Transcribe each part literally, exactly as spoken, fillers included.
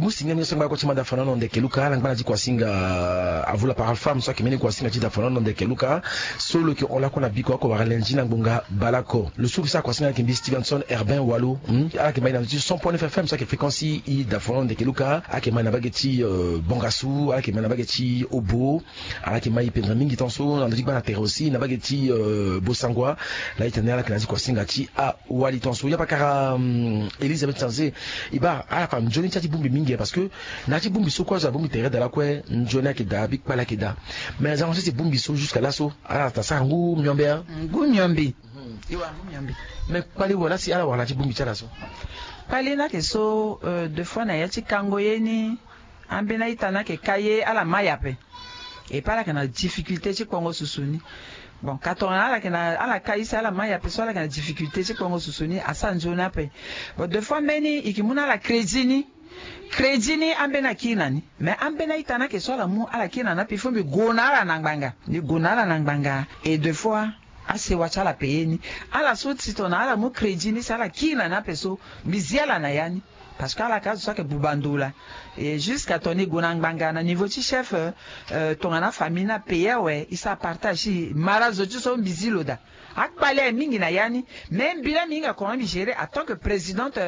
Osinga ni so ngba ko ti mada fana no ndeke luka ala ngba na ti kuasinga avula para femme so ayeke mbeni kuasinga ti da fana no ndeke luka. So lo yeke hon lako na biko oko wara lenzi na ngbonga baleoko lo so lo sa kuasinga ayeke mbi stevenson herbin walo. Ala yeke mai na ndö ti cent point neuf fm so ayeke fréquence i da fana no ndeke luka ala yeke mai na mbage ti bongasu ala yeke mai na mbage ti obo. Ala yeke mai pendere mingi tongaso na ndö ti gba na tere aussi na mbage ti bosangua. Laa itene ala yeke na ya ti kuasinga ti awali tongaso ya pakara. Elisabeth sanze. E baa ala fa nzoni ti ya ti bongbi mingi parce que na ya ti bongbi so kue azo abongbi tere daa lakue nzoni ayeke daa abi kpale ayeke daa. Mais na zango so ti bongbi so jusque laso ala ta sara ngu miombe. Ngu miombe. Mais kpale wala si ala wara na ya ti bongbi ti ala so. Kpale ni ayeke so deux fois na ya ti kango ye ni. Ambeni a-ita ni ayeke ka ye ala mai ape. Et pe ala yeke na difficulté ti kpongo susu ni. Bon ka tongana ala yeke na ala ka ye si ala mai ape so ala yeke na difficulté ti kpongo susu ni asara nzoni ape. Bon deux fois mbeni e ke mu na ala crédit ni. Crédit ni ambeni akiri na ni. Mais ambeni a-ita ni ayeke so ala mu ala kiri na ni ape il faut mbi gue na ala na ngbanga mbi gue na ala na ngbanga. Et deux fois asewa ti ala paye ni. Ala so ti tongana ala mu crédit ni si ala kiri na ni ape so mbi zi ala na ya ni. Parce que ala ka azo so ayeke buba ndo laa. Et jusqu'à tongana e gue na ngbanga na niveau ti chef tongana afamille ni apaye awe e sara partage ti e mara zo ti so mbi zi lo daa. Akpale aye mingi na ya ni. Mais mbi laa mbi hinga comment mbi gérer en tant que présidente.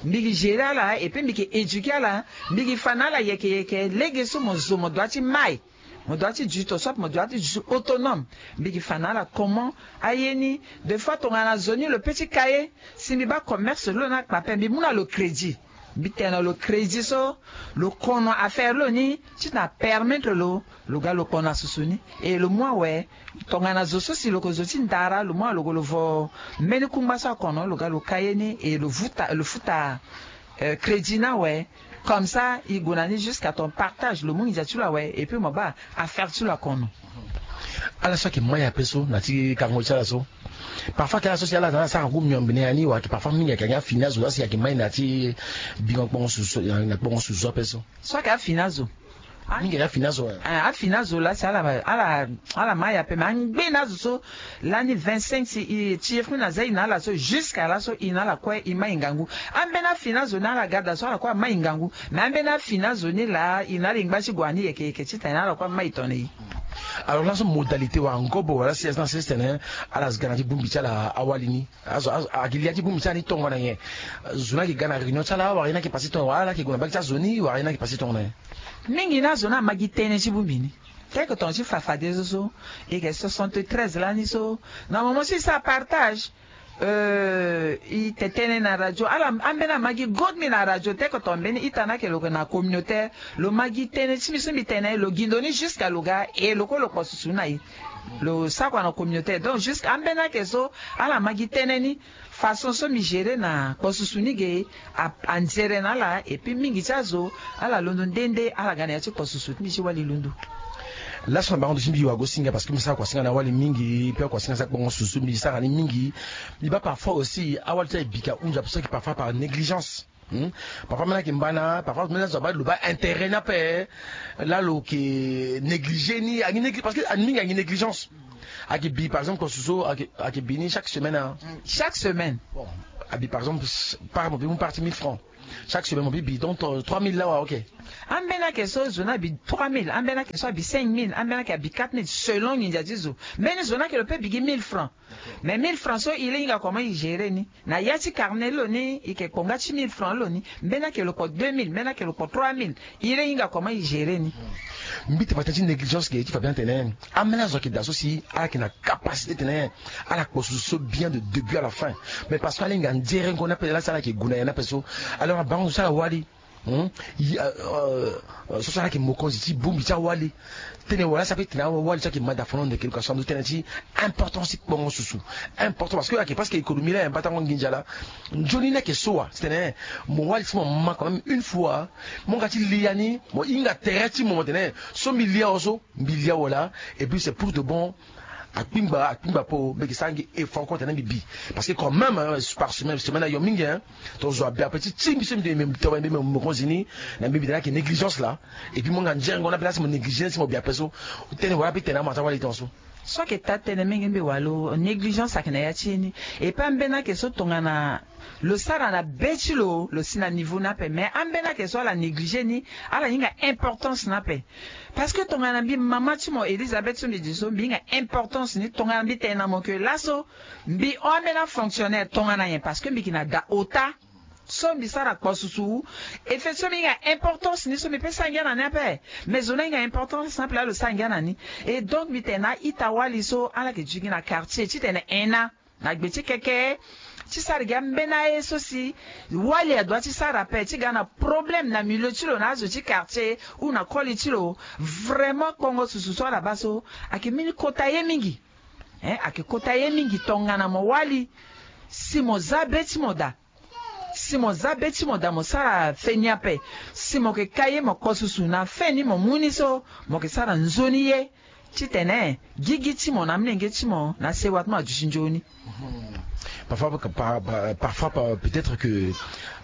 Mbi ke gérer ala et puis mbi ke éduquer ala. Mbi ke fa na ala yeke yeke lege so mo zo mo dua ti mai. Mo dua ti duti oso ape mo dua ti duti autonome. Mbi ke fa na ala comment aye ni. Deux fois tongana zo ni lo pe ti ka ye si mbi baa commerce lo ni akpa ape mbi mu na lo crédit. Mbi tene na lo crédit so lo kono affaire lo ni ti na permettre lo lo ga lo kpona susu ni. Et lo mu awe tongana zo so si lo ko zo ti ndara lo mu awe lo ko lo vo mbeni kungba so akono lo ga lo ka ye ni et lo futa lo futa crédit ni awe. Comme ça e gue na ni jusqu'à ton partage lo mu nginza ti lo awe et puis mo baa affaire ti lo akono. Ala so ayeke mai ape so na ti kango ti ala so. Parfois ke ala so si ala na ala sara ngu miombe na ya ni wala ke parfois mingi ayeke ange afini azo laa si ayeke mai na ya ti bingo kpongo susu na kpongo susu ape so. So ayeke afini azo. Mingi ayeke afini azo. Afini azo laa si ala ala ala mai ape me angbe na azo so. Lani vingt-cinq si e ti e fini na za e na ala so jusqu'à laso e na ala kue e mai ngangu. Ambeni afini azo ni ala ga daa so ala kue amai ngangu. Mais ambeni afini azo ni laa e na ala e ngba ti gue na ni yeke yeke titene ala kue amai tongana e. Alors laso modalité wala ngobo wala si azo ni asese tene ala zo ga na ti bongbi ti ala awali ni. Azo azo ayeke lia ti bongbi ti ala ni tongana nyen? Zo ni ayeke ga na réunion ti ala wala ye ni ayeke pase tongana wala ala ayeke gue na mbage ti azo ni wala ye ni ayeke pase tongana nyen? Mingi ni azo ni ama gi tënë ti bongbi ni. Teke tongana ti fafade so so e yeke soixante-treize lani so na moment so e sara partage. E te tënë na radio ala ambeni ama gi gode mbi na radio teke tongana mbeni ita ni ayeke lo yeke na communautaire. Lo ma gi tënë ti mbi so mbi tene lo gi ndo ni jusqu'à lo ga e lo kue lo kpo susu ni na e. Lo sakua na communautaire donc jusqu'à ambeni ayeke so ala ma gi tënë ni. Façon so mbi gérer na kpo susu ni ge anzere na ala et puis mingi ti azo ala londo nde nde ala ga na ya ti kpo susu ti mbi ti wali londo. Laso na bango ndo ti mbi wago singa parce que mbi sara kuasinga na awali mingi pe akuasinga sara kpongo susu mbi sara ni mingi. Mbi baa parfois aussi awali ti ala e bika hunzi ape so ayeke parfois par négligence. Parfois mbeni ayeke mbana parfois mbeni azo abaa lo baa intérêt ni ape. Laa lo yeke négliger ni angi négli parce que mingi angi négligence. Ayeke bi par exemple kpo susu so ayeke bi ni chaque semaine. Chaque semaine. Bon, abi par exemple par mo bi mu parti mille francs. Chaque semaine mo bi bi donc trois mille lawa ok. Ambeni ayeke so zo ni abi trois mille ambeni ayeke so abi cinq mille ambeni ayeke abi quatre mille selon nginza ti zo. Mbeni zo ni ayeke lo pe bi gi mille francs. Mais mille francs so e le hinga comment e gérer ni. Na ya ti carnet lo ni e yeke kpo nga ti mille francs lo ni. Mbeni ayeke lo kpo deux mille mbeni ayeke lo kpo trois mille. E le hinga comment e gérer ni. Mbi te fa tënë ti négligence ge ti fa bien tene ambeni azo ayeke daa so si ala yeke na capacité tene ala kpo susu so bien de début à la fin. Mais parce que ala hinga nzerengo ni ape laa si ala yeke gue na ya ni ape so. Alors na bango so ala wali. So so ala yeke mokonzi ti bongbi ti awali. Tene wala si ape tene awali so ayeke mada fano ndeke luka so ando tënë ti importance ti kpongo susu. Important parce que ayeke parce que économie la ayeke mbatango nginza la. Nzoni ni ayeke so wa titene mo wali si mo ma quand même une fois mo nga ti lia ni mo hinga tere ti mo mo tene so mbi lia awe so mbi lia awe la. Et puis c'est pour de bon. Akpingba akpingba po mbi yeke sara ngi effort kue tene mbi bi. Parce que quand même par semaine semaine ayo mingi hein. Tonga zo abi ape ti ti mbi so mbi tene mbi tene mbi tene mbi mokonzi ni. Na mbi mbi tene ayeke négligence la. Et puis mo nga nzengo ni ape la si mo négliger ni si mo bi ape so. Tënë wala ape tene amo ata wali tonga so. So ayeke taa tënë, menge mbi walo, négligence ayeke na ya ti e ni. E pe ambeni ayeke so tongana lo sara na be ti lo, lo si na niveau ni ape, mais ambeni ayeke so ala néglige ni, ala hinga importance ni ape. Parce que tongana mbi mama ti mo Elisabeth so mbi di so, mbi hinga importance ni. Tongana mbi tene na mo ke laso mbi hon ambeni afonctionnaire, tongana nyen? Parce que mbi yeke na da ota. So mbi sara kpo susu. E fait so mbi hinga importance ni so mbi pe sara ngia na ni ape. Mais zo ni ahinga importance ni ape laa lo sara ngia na ni. Et donc mbi tene na a-ita wali so ala yeke duti gi na quartier titene en na na gbe ti keke ti sara gi ambeni aye so si wali adoit ti sara ape, ti ga na problème na milieu ti lo na azo ti quartier ou na koli ti lo. Vraiment kpongo susu so ala baa so ayeke mbeni kota ye mingi. Hein, ayeke kota ye mingi tongana mo wali si mo za be ti mo daa. Si mo za be ti mo daa, mo sara feni ape. Si mo yeke ka ye mo kpo susu na feni mo mu ni so, mo yeke sara nzoni ye titene gigi ti mo na amolenge ti mo na sewa ti mo aduti nzoni. Parfois, par- par- parfois par- peut-être que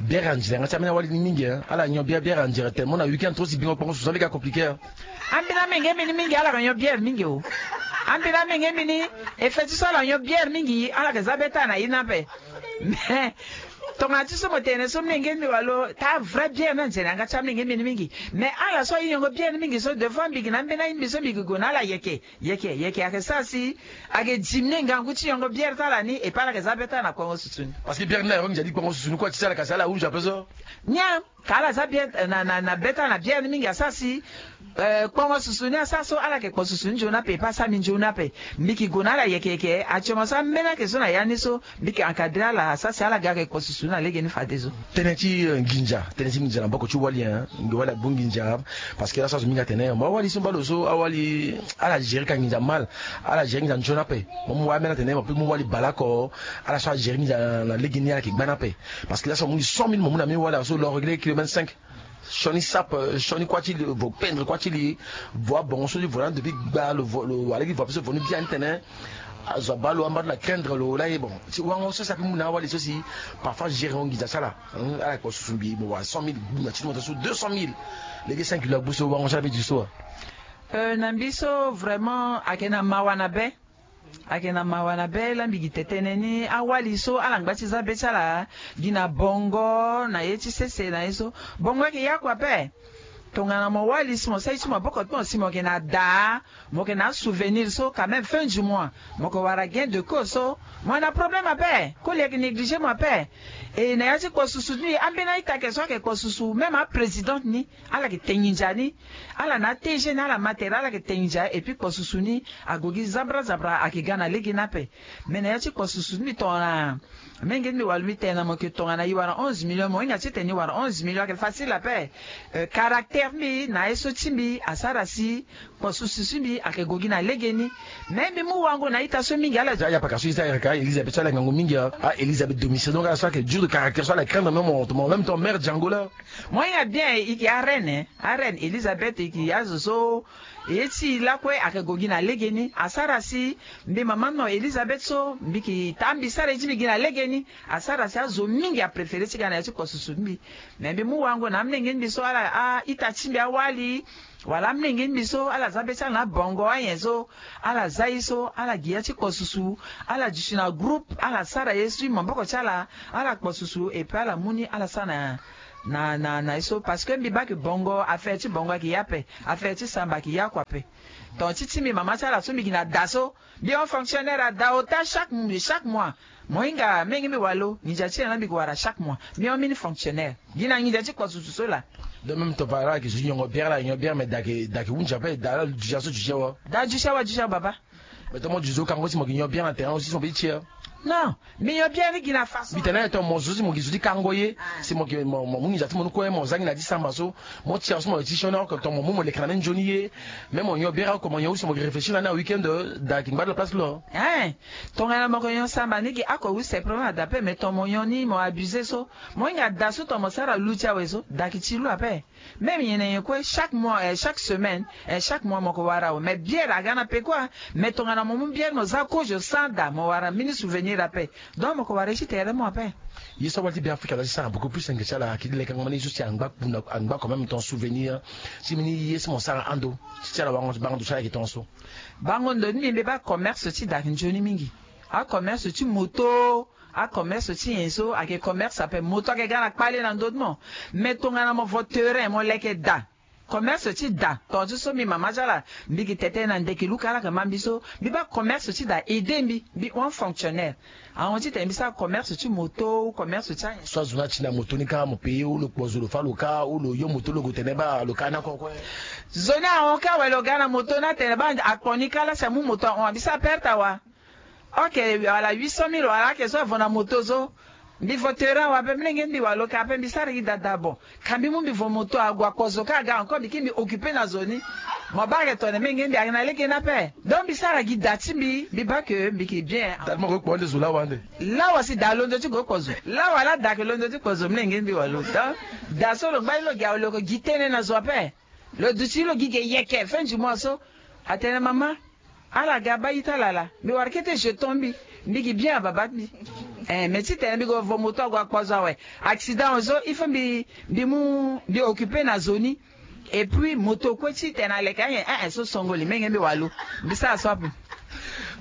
bière anzere yanga ti ambeni awali ni mingi, hein. Ala nyon bière, bière anzere tellement na week-end trop si bingo kpongo susu, ala ga compliqué, hein. Ambeni amenge mbi ni mingi, ala yeke nyon bière mingi o. Ambeni amenge mbi ni, e fait ti so ala nyon bière mingi, ala yeke za be ti ala na ye ni ape. Mais tongana ti so mo tene so, mlenge mbi walo, taa vrai bière ni anzere yanga ti amlenge mbi ni mingi. Mais ala so aye nyongo bière ni mingi so, des fois mbi gi na ambeni aye mbi so mbi gi gue na ala yeke yeke yeke, ayeke sara si ayeke diminuer ngangu ti nyongo bière ti ala ni, et puis ala yeke za be ti ala na kpongo susu ni. Parce que bière ni la yoro nginza ti kpongo susu ni kue ti ti ala, kasi ala hunzi ape so. Nyen? Ka ala za bière na na na be ti ala na bière ni mingi asara si eh, kpongo susu ni asara so ala yeke kpo susu ni nzoni ape, e pe asara mbi nzoni ape. Mbi yeke gue na ala yeke yeke, actuellement so ambeni ayeke so na ya ni so mbi yeke encadrer ala asara si ala ga yeke kpo susu ni na lege ni fadeso. Tënë ti eh, nginza, tënë ti nginza na mboko ti wali, hein. Nge wali agbu nginza. Parce que laso azo mingi atene mo awali so mba lo so awali, ala gérer ka nginza mal. Ala gérer nginza nzoni ape. Mo mu wali ambeni atene mo pe mu wali baleoko. Ala so agérer nginza na lege ni ala yeke gba ni ape. Parce que laso mo mu ni cent mille, mo mu na ambeni wali azo lo réglé kilo vingt-cinq. Sioni sape, eh, sioni kuâ ti li, vo pendre kuâ ti li, vo abongo so ti vo na ndo ti gba lo, vo lo wara lege ti vo ape so vo ni biani tene azo abaa lo amba ti lo na craindre lo laa ye. Bon, ti wango so si ape mu na awali so si parfois gérer nginza ti ala. Hmm, ala yeke kpo susu mbi mo wara cent mille, gbu na ti ti mo taa so deux cent mille. Lege cinq kilo agbu so wango so ala pe di so wa. Euh, na mbi so vraiment ayeke na mawa na be. Ayeke na mawa na be laa mbi gi tene ni, awali so ala ngba ti za be ti ala gi na bongo na ye ti sese na ye so. Bongo ayeke ye oko ape. Tongana mo wali si mo sara ye ti maboko ti mo si mo yeke na daa, mo yeke na asouvenir so quand même fin du mois mo yeke wara gain de cause so, mo yeke na problème ape. Koli ayeke négliger mo ape. E na ya ti kpo susu ni ambeni a-ita ayeke so ayeke kpo susu, même aprésidente ni ala yeke te nginza ni. Ala na a-T G ni, ala ma tere, ala yeke te nginza, et puis kpo susu ni ague gi zabra zabra ayeke ga na lege ni ape. Mais na ya ti kpo susu ni mbi tongana menge ni mbi wara lo mbi tene na mo ke tongana e wara onze millions, mo hinga titene e wara onze millions ayeke facile ape. Euh, caractère ti mbi na ye so ti mbi asara si kpo susu ti mbi ayeke gue gi na lege ni. Mais mbi mu wango na a-ita so mingi ala. Ya paka so e za yaka Elisabeth so ala ngangu mingi, ah, Elisabeth domicile, donc ala so ayeke dur de caractère so ala craindre même en même temps mère Django la. Mo hinga bien, e yeke areine, areine Elisabeth, e yeke azo so ye ti e lakue ayeke gue gi na lege ni. Asara si mbi mama ti mo Elisabeth so mbi yeke taa mbi sara ye ti mbi gi na lege ni. Asara si azo mingi apréféré ti ga na ya ti kpo susu ti mbi. Mais mbi mu wango na amolenge ti mbi so ala, a-ita ti mbi awali, wala amolenge ti mbi so ala za be ti ala na abongo anyen so. Ala za ye so ala gi ya ti kpo susu. Ala duti na groupe, ala sara ye so ti maboko ti ala. Ala kpo susu et puis ala mu ni ala sara na na na na ye so. Parce que mbi baa ke bongo, affaire ti bongo ayeke ye ape, affaire ti samba ayeke ye oko ape. Ton ti ti mbi mama ti ala so mbi gi na da so, mbi hon fonctionnaire ada ota chaque chaque mois. Mo hinga menge mbi walo, nginza ti ala na mbi yeke wara chaque mois. Mbi hon mbeni fonctionnaire gi na nginza ti kpo susu so laa. De même ton papa ayeke zo ti nyongo bière, ala yeke nyon bière, mais da ayeke da ayeke hunzi ape, da ala duti aso duti awa. Da duti awa, duti awa baba. Mais ton mo duti zo kango si mo yeke nyon bière na terrain aussi si mo pe ti e. Non, mbi nyon bière ni gi na façon. Mbi tene na ye ton mo zo si mo yeke zo ti kango ye. Si mo yeke mo mo mu nginza ti mo ni kue mo za gi na ya ti samba so. Mo ti awa so mo yeke ti sioni oko ton mo mu mo leke na mbeni nzoni ye. Même mo nyon bière oko mo nyon aussi mo yeke réfléchir na ni na week-end, da ayeke ngba ti lo place lo. Hein. Tongana mo yeke nyon samba ni gi oko use problème ada ape, mais ton mo nyon ni mo abusé so. Mo hinga da so ton mo sara lu ti awe so da ayeke ti lu ape. Même nyen na nyen kue chaque mois, eh, chaque semaine, eh, chaque mois mo yeke wara awe. Mais bière aga na peko. Mais tongana mo mu bière mo za kozo sans da mo wara mbeni souvenir. Ira ape. Donc mo ko wara ye ti tere mo ape. Ye so awali ti Be Afrika la ti sara beaucoup plus enge ti ala, ayeke ti lekengo ma ni so si angba kpuna, angba quand même ton souvenir ti mbeni ye so mo sara ando ti ti ala. Bango, bango ndo ti ala ayeke ton so. Bango ndo ni mbi mbi baa commerce ti da ayeke nzoni mingi. Acommerce ti moto, acommerce ti nyen so ayeke commerce ape. Moto ayeke ga na kpale na ndö ti mo. Mais tongana mo vo terrain mo leke da, commerce ti da, tonga ti so mbi mama ti ala, mbi yeke tene tënë na ndeke luka ala yeke ma mbi so, mbi baa commerce ti da aide mbi, mbi hon fonctionnaire. Ahon titene mbi sara commerce ti moto ou commerce ti anyen. So azo ni ati na moto ni kâ, mo paye ou lo kpo zo lo fâ lo kâ, ou lo yo moto lo gue tene baa lo kâ ni oko kue. Zo ni ahon kâ awe, lo ga na moto ni atene baa akpo ni kâ la si amu moto ahon, mbi sara perte awa. Ok, wala huit cent mille wala ake so avo na moto so. Mbi vo terrain awe ape, mlenge ti mbi wala lo ka ape, mbi sara gi da da bon. Ka mbi mu mbi vo moto ague akpo zo kâ aga encore mbi kiri mbi occuper na zo ni. Mo baa ayeke tongana mlenge ti mbi ayeke na lege ni ape. Donc mbi sara gi da ti mbi, mbi baa que mbi yeke bien. Da ti mo gue kpo ande zo lawa ande. Lawa si da alondo ti gue kpo zo. Lawa la da ayeke londo ti kpo zo, mlenge ti mbi wala lo. Donc da so lo ngba ti lo gi awe, lo yeke gi tënë na zo ape. Lo duti lo gi ge yeke fin du mois so. Atene mama, ala ga baa ita lala, mbi wara kete jeton mbi, mbi gi bien na baba ti mbi. Eh, mais titene mbi gue vo moto ague akpo zo awe, accident awe so il faut mbi, mbi mu, mbi occuper na zo ni. Et puis moto kue titene aleke anyen, eh, eh, so songoli, menge mbi wala lo. Mbi sara so ape.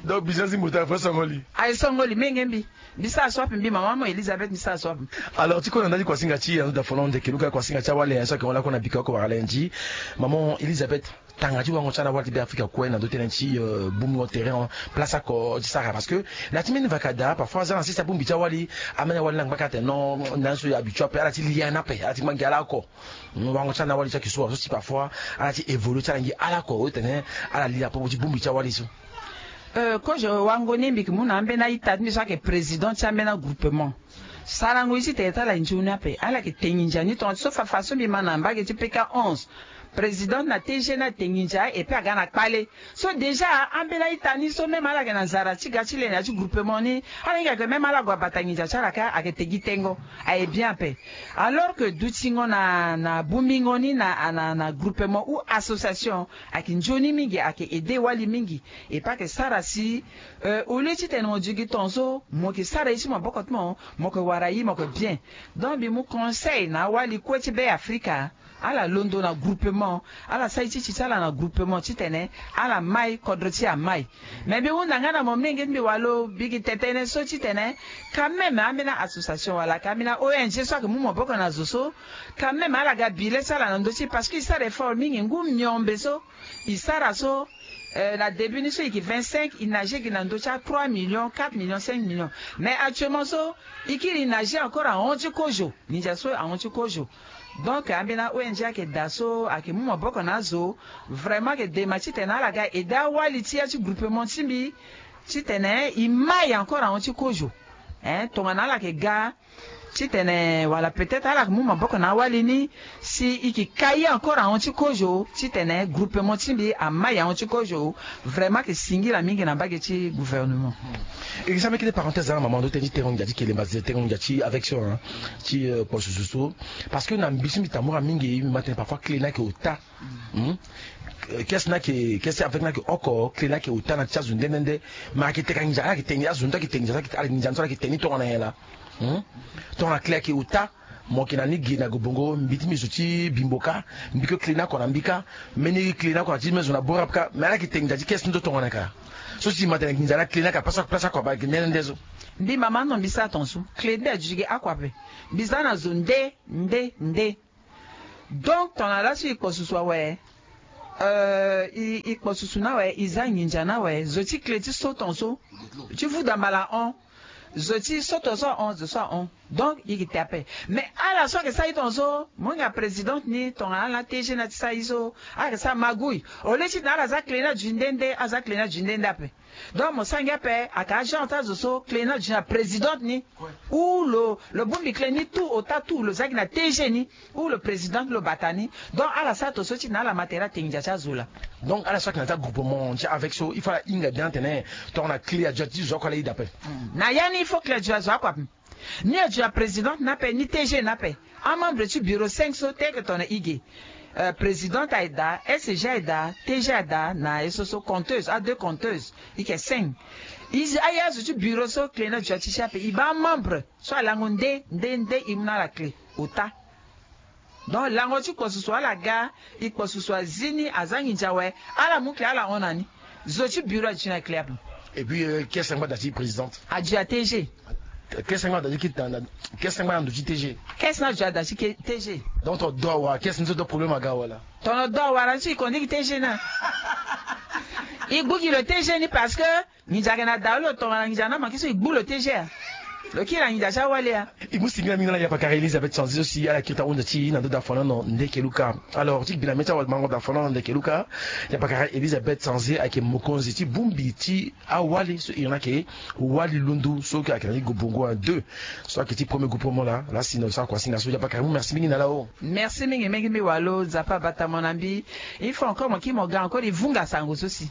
Donc business ti moto aye fo songoli. Aye songoli, menge mbi. Mbi sara so ape, mbi mama mo Elisabeth, mbi sara so ape. Alors ti kue na ndali kuasinga ti ando da folon ndeke luka kuasinga ti awale, eh, so ayeke hon lakue na bika oko wara lenzi. Maman Elisabeth, tanga ti wango ti ala wali ti Be Afrika kue na ndö ti tënë ti, euh, bongbi terrain, place oko ti sara, parce que na ti mbeni vaka da parfois aza na sese abongbi ti awali, ambeni awali ni angba kâ atene non, na so habitué ape, ala ti lia ni ape, ala ti ngba gi ala oko. Wango ti ala na awali ti ayeke so wa so si parfois ala ti évoluer ti ala ngi ala oko, o tene ala lia ape ti bongbi ti awali so. Euh, kozo wango ni mbi yeke mu na ambeni a-ita ti mbi so ayeke président ti ambeni agroupement. Sarango ye titene ti ala nzoni ape, ala yeke te nginza ni tongana ti so fafa so mbi ma na mbage ti P K onze. Président na T G ni ate nginza et puis aga na kpale. So déjà ambeni a-ita ni so même ala yeke na nzara ti ga ti le na ya ti groupement ni, ala hinga que même ala gue abata nginza ti ala kâ ayeke te gi tengo. Aye bien ape. Alors que dutingo na, na bongbingo ni na, na, na groupement ou association ayeke nzoni mingi, ayeke aider wali mingi. Et pas que sara si, euh, au lieu titene mo duti gi tongaso mo yeke sara ye ti maboko ti mo, mo yeke wara ye mo yeke bien. Donc mbi mu conseil na awali kue ti Be Afrika, ala londo na groupement, ala sara ye ti ti ti ala na groupement titene ala mai, kodro ti e amai. Mais mbi hunda nga na mo, mlenge ti mbi wala lo, mbi yeke te tënë so titene quand même ambeni association wala ka ambeni O N G so ayeke mu maboko na zo so, quand même ala ga bile ti ala na ndö ti e, parce que e sara effort mingi. Ngu miombe so e sara so, euh, na début ni so e yeke vingt-cinq, e nage gi na ndö ti a trois millions, quatre millions, cinq millions. Mais actuellement so e kiri e nage encore ahon ti kozo. Nginza so ahon ti kozo. Donc ambeni a-O N G ayeke daa so ayeke mu maboko na azo. Vraiment ayeke dema titene ala ga aider awali ti ya ti groupement ti mbi titene e mai encore ahon ti kozo. Hein, tongana ala yeke ga titene wala peut-être ala yeke mu maboko na awali ni si e yeke kai encore ahon ti kozo titene groupement ti mbi amai ahon ti kozo. Vraiment ayeke singila mingi na mbage ti gouvernement. E yeke sara mbeni kete parenthèse na mama ndo tënë ti tengo nginza ti kelemba, tengo nginza ti avec so, hein, ti, euh, kpo susu so. Parce que na mbi so mbi tambula mingi, mbi ma tene parfois clé ni ayeke ota. Hmm? Kese ni ayeke, kese avec ni ayeke oko, clé ni ayeke ota na ti azo nde nde nde. Ma ayeke teka nginza, ala yeke te nginza, azo nde ayeke te nginza, ala yeke nginza so ala yeke te ni tongana nyen laa. Hmm? Tongana clé ayeke ota, mo yeke na ni ge na gue bongo, mbi ti mbi zo ti bimbo kâ, mbi kue clé ni oko na mbi kâ, mbeni clé ni oko na ti mbi zo na bore ape kâ, mais ala yeke te nginza ti kese ni so tongana nyen ka. So si ma tene nginza na clé ni aka place, place oko abaa yeke nde nde nde so. Mbi mama ando mbi sara tongaso, clé nde aduti ge oko ape. Mbi za na zo nde nde nde. Donc tongana laso e kpo susu awe, euh, e, e kpo susu ni awe, e za nginza ni awe, zo ti clé ti so tongaso, ti vuda mbala ahon, zo ti so tongaso ahon, zo so ahon. Donc e yeke te ape. Mais ala so ayeke sara ye tongaso, mo hinga présidente ni tongana ala na T G ni ati sara ye so, ala yeke sara magouille. Au lieu titene ala za clé ni aduti nde nde, aza clé ni aduti nde nde ape. Donc mo sara ngia ape, ayeke agent ti azo so clé ni aduti na présidente ni. Ou lo, lo bongbi clé ni tout ota tout, lo za gi na T G ni. Ou lo président ti lo bata ni. Donc ala sara tongaso titene ala ma tere ate nginza ti azo laa. Donc ala so ayeke na ti agroupement ti avec so il faut ala hinga bien atene tongana clé aduti na ti zo oko ala yeda ape. Na ya ni il faut clé aduti na zo oko ape. Ni aduti na présidente ni ape, ni T G ni ape. Amembre ti bureau cinq so te ayeke tongana e ge. Euh, présidente aye daa, S G aye daa, T G aye daa, na ye so so compteuse, a deux compteuses. E yeke cinq. E zi aya zo ti bureau so clé na dua ti si ape e baa amembre so alango nde nde nde e mu na ala clé ota. Donc lango ti kpo susu ala ga, e kpo susu azi ni aza nginza awe. Ala mu clé ala hon na ni. Zo ti bureau adi ti na clé ape. Et puis kese angba da ti présidente. Adi a tg. Kese angba da ti kete na kese angba na ndo ti tg. Kese na adi a da ti tg. Donc to do awara kese ni so do problème aga wala? Tono do awara ni so e kondiki tg na e gbu gi lo tg ni parce que nginza ayeke na dau lo tongana nginza na maki so e gbu lo tg a. Lo kiri na nginza ti awali a. E mu singila mingi na la yapakara Elisabeth Sanzi so si ala kiri ta hunza ti e na ndo da fana no ndeke luka. Alors ti gbi na mê ti awamango da fana no ndeke luka. Yapakara Elisabeth Sanzi ayeke mokonzi ti bongbi ti awali so iri ni ayeke wali lundu so ayeke na ti gobongo un deux. So ayeke ti premier groupe mo la la si na lo sara kuasinga so yapakara e mu merci mingi na la o. Merci mingi mingi mbi walo nzapa abata mo na mbi. Il faut encore mo kiri mo ga encore e vunga sango so si.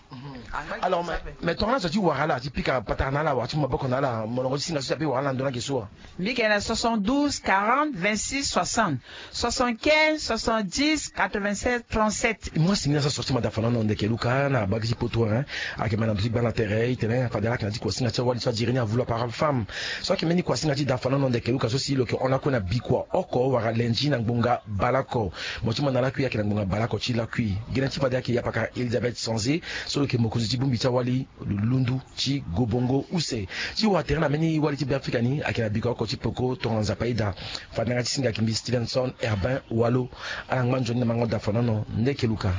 Alors mais tongana zo ti wara ala ti pika patara na ala wara ti mu maboko na ala molongo ti singa so ti ape wara ala na ndo na ge so wa? Mbi yeke na soixante-douze quarante vingt-six soixante, soixante-quinze soixante-dix quatre-vingt-seize trente-sept. Moi singila so asorti ma da fana no ndeke luka na abagi ti poto hein. Ayeke ma na ndo ti gba na tere itene fade ala yeke na ti kuasinga ti awali so adiri ni avulu apara femme. So ayeke mbeni kuasinga ti da fana no ndeke luka so si lo yeke hon lakue na bikua oko wala lendi na ngbonga baleoko. Mo ti ma na lakui ayeke na ngbonga baleoko ti lakui. Gene ti fade ayeke yapakara Elisabeth Sanzi so lo yeke mokonzi ti bongbi ti awali lundu ti gobongo use. Ti wara tere na mbeni wali ti Beafrika ni ayeke na bikua oko ti peko tongana nzapa aida. Fade na yanga ti singa ayeke mbi Stevenson Herbin Walo. Ala ngba nzoni na mango da fana no ndeke luka.